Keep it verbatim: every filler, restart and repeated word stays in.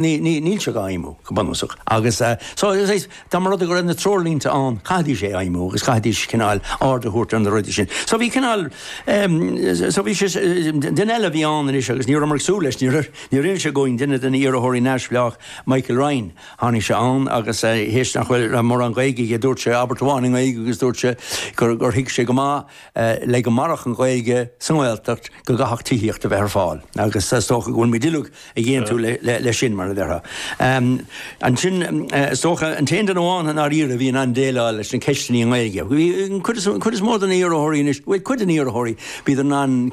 Níl sé á fheidhmiú go bunúsach agus so dá mba rud é go raibh na treoirlínte ann chaithfidís é a fheidhmiú agus chaithfidís cineál aird a thabhairt ar na rudaí sin. So bhí cineál so bhí sé duine eile a bhí ann anois agus ní rabhamar ag súil leis níor níor inis sé dúinn duine de na iarrthóirí neamhspleách Michael Ryan tháinig sé ann agus théis nach bhfuil mórán Gaeilge aige dúirt sé abairt amháin i nGaeilge agus dúirt sé gur gur thuig sé go maith le go mairfeadh an Ghaeilge sa nGaeltacht go gcaithfeadh tithíocht a bheith ar fáil agus is dócha go bhfuil muid uilig ag aontú le sin mar a déarfá. Ansin is dócha an t-aon duine amháin i ndáiríre a bhí in ann déileáil leis na ceisteanna i nGaeilge. Bhí cuid is mó de na iarrthóirí anois, bhuel cuid de na iarrthóirí bhíodar in ann